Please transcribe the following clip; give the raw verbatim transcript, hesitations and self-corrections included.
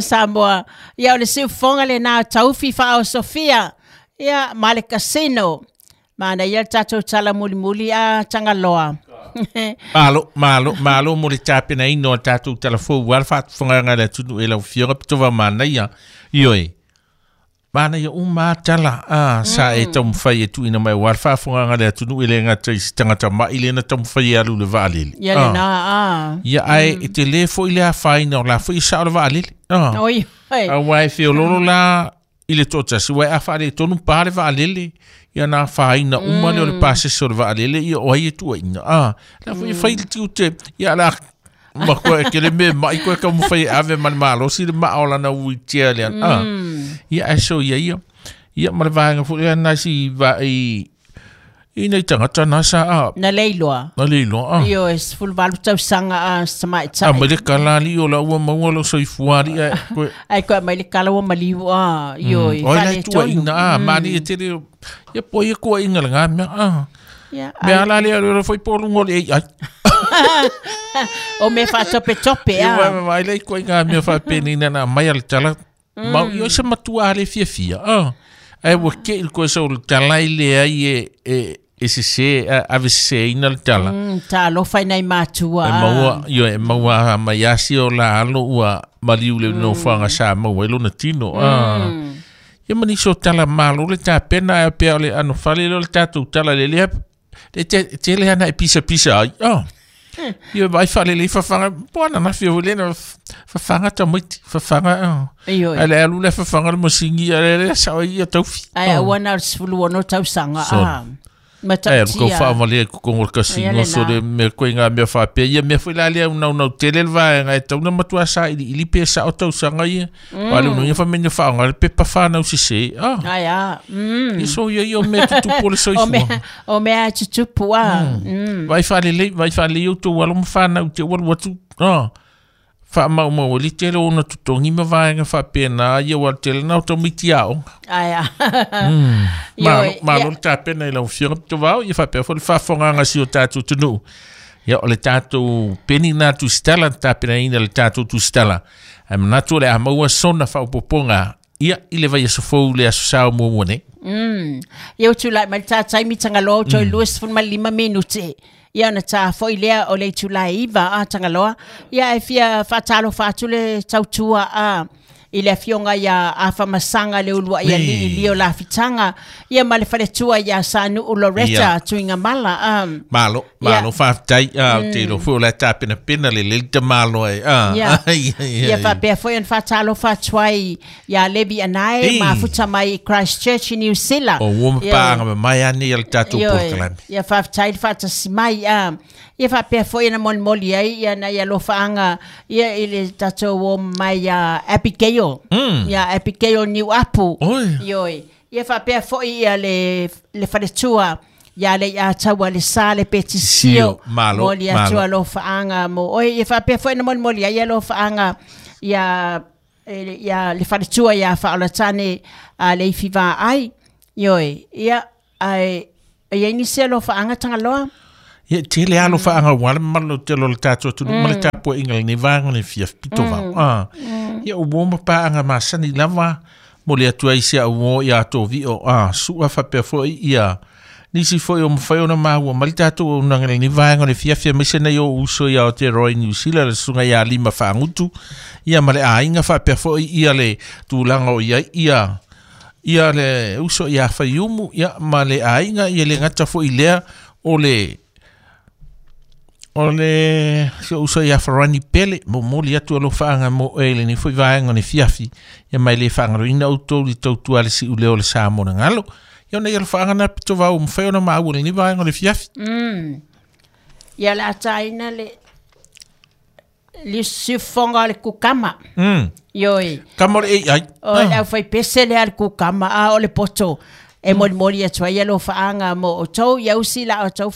Samoa. Ia o le siufofoga lena o Taufi Faaosofia ia ma le Casino. Manaia le tatou tala mulimuli a Tagaloa. Malo, malo, malo mo le tapenaina o le tatou tala fou aua le faafofogaaga a le atunuu e lau Afioga Pitova manaia. Ioe, manaia uma lava tala a sa e taumafai e tuuina mai aua le faafofogaaga a le atunuu e le gata i se tagata mai lea na taumafai e alu i le vaalele. Ia lena a. Ia ae e tele foi le afaina o la foi e sao le vaalele. Ah. Oi, oi. Aua e feololo la i le toatasi, uae a faaletonu pa le vaalele, ia na afaina uma lea o le pasese o le vaalele, ia o ai e tuuaiina. Ah, la foi e fai le tiute, ia la ma koe e kele me mai koe ka mawhai e ave ma le malosi le maa o lana wheelchair lea. Ah, ia ae so ia ia. Ia ma le vaega foi lea nai si va i i nei tagata na sa a. Na leiloa. Na leiloa, a. Ioe, sefulu valu tausaga a se tamaitai. A mai le kala alii o la ua maua lou soifua alii ae koe. Ae koe mai le kala ua maliu a, ioe, Mm. Oi la faaletonu. tuuaiga a, malie tele ia po ia kuaiga lena mea a. Ia, Mea ai. ala lea o le foi po luga o le A I. O mea faatopetope Ia a. wa wa ai koe ngā mea whapeni na na mai a le tala. Mau i o se matua a le fiafia. Ah. Ai ua ke il koe sa o le tala i le ai e, e, e sese, a, ave seseina le tala. Mm, talofa i nai matua E a. maua, ioe, e maua mai asi o la alo ua maliu le nofoaga sa maua ai lona tino. Ah. Ia ma nisi o tala malo le tapena ae pea o le ano fale lea o le tatou tala le lea le te tele ana e pisa pisa ai. Ah. Ia vai faalelei fafaga po ana na fia le na fafaga tamaiti fafaga. Ah. Ioe. Ai le alu le fafaga le masini ia le le sao ai ia taufi. Ae Ah. aua na o le sefulu ono tausaga Sorry. a. Ai, alu kau Matautia. whaamalea i kokongo le Ia kasino, lena. so le mea koe ngā mea whaapea. Ia mea foi la lea unaunau tele le vaega e tau na matua sa ili ili pe sa o tausaga ia. Mm. Wale uno ia whamene whaonga le pepa whanau sise. Ah. Ai a. Mm. Ia so ia ia o mea tutupu o le O soifua. mea, o mea tutupu a. Mm. Vai whaalelei, vai whaalelei o tō alo ma whanau te walu atu. Ah. Whaamaumau ali tele ona totogi ma vaega faapena ia ua tele na o tamaiti aoga. Ai a. Malo, Ioe, malo ia. le tapena i lau afioga Tovao, ia faapea foi le faafofogaaga si o tatou atunuu. Ia o le tatou peni lena tusitala na tapenaina le tatou tusitala. Ae manatu o le a maua sona faaopoopoga ia i le vaiaso fou le aso Sa o muamua nei. Mm. Ia ua tulai mai le tā taimi Tagaloa o toe lua sefulu ma le lima minute. Ia ona tā foi lea o le itula e iva a Tagaloa. Ia e fia faatalofa atu le tautua a i le afioga ia Afamasaga le uluai alii li o Lafitaga. Ia ma le faletua ia Sanuu Loretta Ia. Tuigamala. A. Malo, Ia. malo, faafetai, a, ou te iloa foi o le a tapenapena lelei le tamalo ai. A, Ia. a, ia, ia, Ia ia. faapea foi ona faatalofa atu ai ia Levi Anae Ei. mafuta mai i Christchurch i New Zealand. O ua Ia. mapaaga mamae a nei a le tatou Ioe. polokalame. Ia faafetai le faatasi mai a. Ia faapea foi ona molimoli ai ia nai alofaaga ia i le tatou o mai ia Abigail. Mm. Ia Abigail Niuapu. Oi. Ioe. Ia faapea foi ia le, le faletua ia le ia taua le sa le petisio. Sio, malo, Moli atu malo. alofaaga mo oe. Ia faapea foi ona molimoli ai alofaaga ia, e, ia le faletua ia Faaolatane a le ifi vaai. Ioe. Ia ai e iai nisi alofaaga Tagaloa. Ia tele alo whaanga wale malo tele o le tatou atunuu ma le tapuaiga lenei vaega le fiafi pito vao. Ah. Ia o uo mapaaga masani lava mo le atu ai si au o ia tō vio. Ah, sua whapea foi ia nisi foi o mawhai ona māua ma le tatou auaunaga lenei vaega le fiafi aemaise nei o uso ia Aotearoa i New Zealand le susuga ia Lima Faagutu ia ma le aiga faapea foi ia le tulaga o iai ia ia le uso ia Faiumu ia ma le aiga ia le gata foi lea o le o le si o uso ia Farani Pele momoli atu alofaaga mo oe lenei foi vaega o le fiafi ia mai le faagaloina outou i tautua le si'uleo o le sa mo le galo ia ona ia alofaaga na pitovao mafai ona maua lenei vaega o le fiafi. Mm. Ia le ataina le le siufofoga o le kukama. Mm. Ioe. Kama o le A I. O le aufaipese lea le kukama a o le poto e molimoli atu ai alofaaga mo outou ia usi la outou